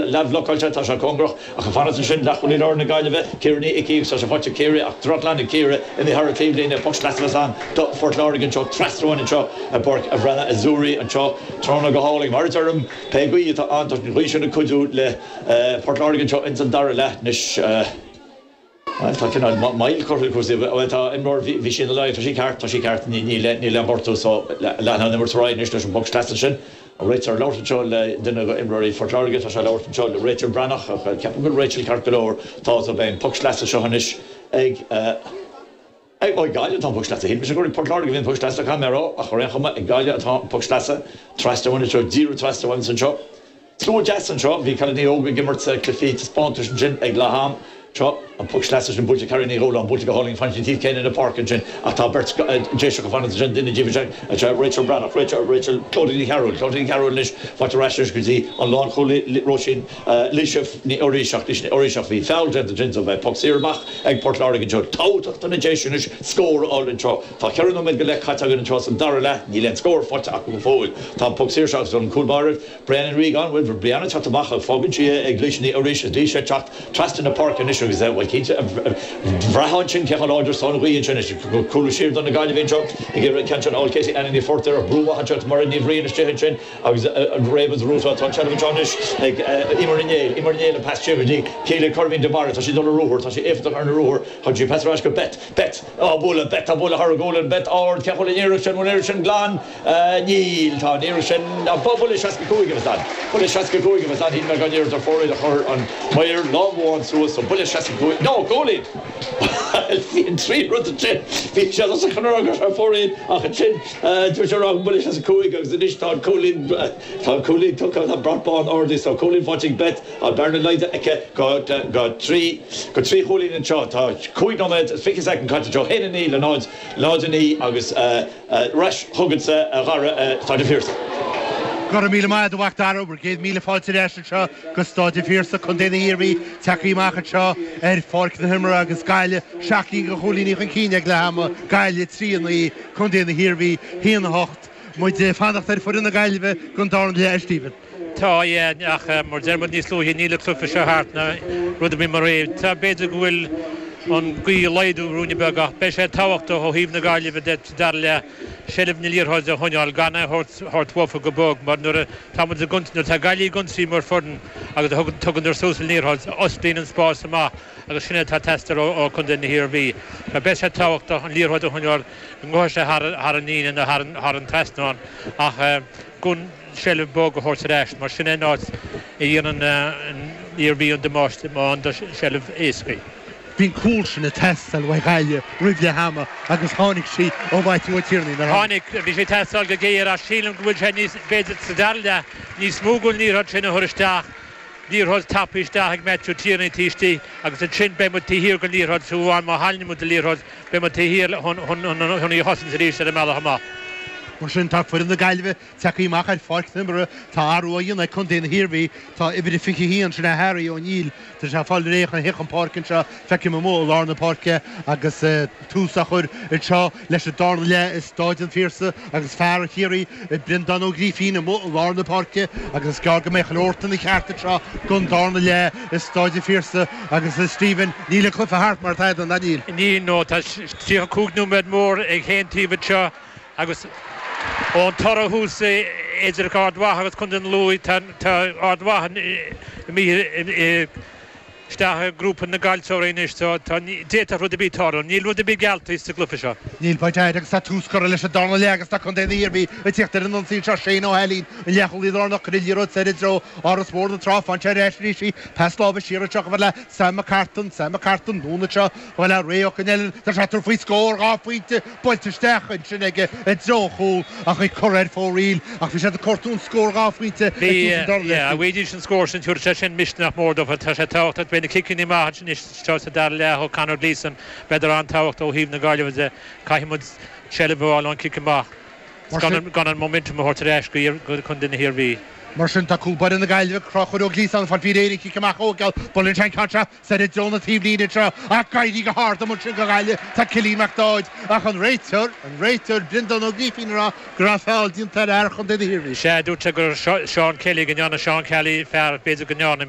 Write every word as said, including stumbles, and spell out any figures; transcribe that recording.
leathbhlocáilte, tá sé cóngarach ach ag fanacht ansin leathchúlaí láir na Gaillimhe, Ciara Ní Icí agus tá sé faighte ag Ciara ach drochghlan ag Ciara imithe thar an taobhlíne, poc sleasa a bheas ann do Phort Láirge anseo, trasna uainn anseo i bPáirc an Bhreathnaigh Azzurri anseo tráthnóna go hálainn. Mar a deirim, pé gaoth atá ann, tá an ghaoth sin ag cuidiú le Port Láirge anseo ins an dara leath anois. Bhuel, tá cineál moill curtha le cúrsaí. Bhuel, tá imreoir, bhí sí ina luí, tá sí ceart, tá sí ceart, níl aon ghortú so leanfaidh an imirt ar aghaidh anois leis an bpoc sleasa sin. An réiteoir ag labhairt anseo le duine de imreoirí Phort Láirge, tá sé ag labhairt anseo le Rachel Breathnach ach ceapaim go bhfuil Rachel ceart go leor. Tá, so beidh an poc sleasa seo anois ag, ag, ó ag Gaillimh atá an poc sleasa. Shíl mise gur ag Port Láirge a bhí an poc sleasa, caithfidh mé a rá, ach ar aon chuma, ag Gaillimh atá an poc sleasa. Trasna uainn anseo, díreach trasna uainn anseo. Slua deas anseo. Bhí cailíní óga ag imirt cluichí taispeántais ansin ag leath am. Seo an poc sleasa sin buailte ag Carrie Ní Dhúláin, buailte go hálainn, faigheann sí an taobh céanna na páirce ansin ach tá beirt Déiseach ag fanacht ansin, duine díobh is ea Rachel Breathnach, Rachel, Rachel, Clodagh Ní Chearúil, Clodagh Ní Chearúil anois faighte ar ais anois go dtí an lánchúlaí Róisín Laoise Ní Fhoraoiseach, Laoise Ní Fhoraoiseach, bhí feall déanta ansin so beidh poc saor amach ag Port Láirge anseo. Tábhachtach do na Déise anois scór a fháil anseo. Tá ceithre nóiméad go leith caite againn anseo san dara leath, níl aon scór faighte acu go fóill. Tá an poc saor seo agus an cúl báire, Brianna Ní Riagáin, bhuel, Brianna ag teacht amach ach fágann sí é ag Laoise Ní Fhoraois is Laoise ag teacht trasna na páirce anois agus, bhuel, cinnte, bhraithfeá ansin cé chomh láidir is atá an ghaoth ansin. Is cúlú siar do na Gaillimhigh anseo ag iarraidh an ceann sin a fháil. Katie Anna Ní Phortair ach brú maith anseo Mairéad Ní Bhriain istigh ansin agus réabadh Rúta. Tá an tseilbh anseo anois ag Eimear Ní Néill. Eimear Ní Néill an pas siar go dtí Celia Curvine de Barra. Tá sí ag dul ar ruathar. Tá sí éifeachtach ar na ruathair. Thug sí pas ar ais go Beth. Beth á bualadh. Beth á bualadh thar a gualainn. Beth ard. Cé chomh bhfuil an iarracht sin? Bhfuil an iarracht sin glan? Níl. Tá an iarracht sin. Buille seasca cúig a bheas ann. Buille seasca cúig a bheas ann. Shíl mé gan iarracht ar fóraoil a chuir an maor lámh amháin suas. So buille seasca cúig. No, cúilín! Bhuel, bhí an trí rud ansin. Bhí sé os a chionn ar ar fóraoil ach ansin dúirt sé rá buille seasca cúig agus anois tá an cúilín, tá an cúilín tugtha, tá brat bán ardaithe. So cúilín faighte ag Beth. Tá bearna laghdaithe aici go go trí go trí chúilín anseo. Tá cúig nóiméad is fiche soicind caite anseo. Haon a naoi le náid, náid a naoi agus ar ais chugatsa a Dhara, Staid an Phiarsaigh. Go raibh míle maith agat a Mhac Dara, bhur gcéad míle fáilte ar ais anseo go Staid an Phiarsaigh, Contae na hIarmhí, tagtha amach anseo ar pháirc na himeartha agus Gaillimh seacht gcinn de chúilíní chun cinn ag leath ama, Gaillimh trí a naoi, Contae na hIarmhí haon a hocht. Muid ag fanacht ar foireann na Gaillimhe don darna leath, a Stephen. Tá, yeah, ach mar deir muid níos luaithe, níl an cluiche seo thart ná rud ar bith mar é. Tá, b'fhéidir go bhfuil an ghaoth ag laghdú ruainne beag ach beidh sé tábhachtach ó thaobh na Gaillimhe de sa dara leath seilbh na liathróide a choinneáil, gan é a thabhairt uafa go bog mar nuair atá muid ag nuair atá Gaillimh ag ionsaí mar foireann agus a thugann suas an liathróid, osclaíonn an spás amach agus sin é atá ag teastáil ó Chontae na hIarmhí. Beidh sé tábhachtach an liathróid a choinneáil go ngabhfaidh sé thar an líne nó thar an trasnán ach gan seilbh bog a thabhairt ar ais mar sin é an áit a dhéanann an Iarmhí an damáiste má fhaigheann tú seilbh éasca. Bhí an cúl sin ag teastáil uaidh Ghaillimh roimh leath ama agus tháinig sí ó Mhaitiú Ó Tiarnaigh, nár tháinig? Tháinig, bhí sé ag teastáil go géar ach sílim go bhfuil sé níos, b'fhéidir sa dara leath, níos mó den liathróid sin a chur isteach. Liathróid tapaidh isteach ag Matthew Tierney taobh istigh agus ansin beidh muid taobh thiar den liathróid fiú amháin má chailleann muid an liathróid beidh muid taobh thiar chun í a chosaint arís ar an mbealach amach. Mar sin tá foireann na Gaillimhe tagtha amach ar pháirc na himeartha. Tá athrú á dhéanamh ag contae na hIarmhí. Tá uimhir a fiche a haon, sin é Harry O'Neill, tá sé ag fáil réidh chun theacht chun páirce anseo. Feicim amuigh i lár na páirce agus tús á chur anseo leis an darna leath i Stáid an Phiarsaigh agus fear Chiarraí, Breandán Ó Grífín amuigh i lár na páirce agus is gearr go mbeidh chuile shórt ina cheart anseo don darna leath i Stáid an Phiarsaigh agus a Stephen, níl an cluiche thart mar tada, ná níl? Níl, no, tá tríocha cúig nóiméad mór ag chaon taobh anseo agus ón toradh thuas idir Ard Mhacha agus Contae na Lú, tá Ard Mhacha imithe isteach i ngrúpa na gcaillteoirí anois so tá, d'fhéadfadh rud ar bith tarlú. Níl rud ar bith geallta sa gcluiche seo. Níl, faoi dear agus tá tús curtha leis an darna leath agus tá contae na hIarmhí ag tíocht ar an ionsaí anseo. Shane Ó hAilín, an leathchúlaí lárnach, cuireann an liathróid soir i dtreo Áras Mhór na Trá. Faigheann sé ar ais arís í. Pas láimhe siar anseo chomh fada le Sam McCartan. Sam McCartan, anonn anseo chomh fada le Ray Ó Coinneáin. Tá sé ag tabhairt faoi scór dhá phointe buailte isteach ansin aige i dtreo an chúil ach í curtha ar fóraoil ach bhí siad ag cuartú an scór dhá phointe ag Bhí, tús an dara leath. yeah, bhfaighidís an scór sin, tabharfaidh sé sin misneach mór dóibh. Tá sé tábhachtach, beidh na ciceanna amach anois seo sa dara leath ó Conor Gleeson, beidh an-tábhachtach ó thaobh na Gaillimhe de. Caithfidh muid seilbh a fháil ón cic amach Mar sin. gan an momentum a thabhairt ar ais go contae na hIarmhí. Mar sin, tá cúl báire na Gaillimhe, Conchúr Ó Gliasáin, ag fáil faoi réir an chic amach ó Geall. Buaileann sé an ceann seo soir i dtreo na taobhlíne anseo ach ag éirí go hard amuigh ansin do Ghaillimh tá Cillian Mac Dáid ach an réiteoir, an réiteoir Breandán Ó Grífín ag rá go raibh feall déanta ar fhear chontae na hIarmhí. Sea, dúirt sé gur Seán Kelly, go ndearna Seán Kelly fear, b'fhéidir go ndearna.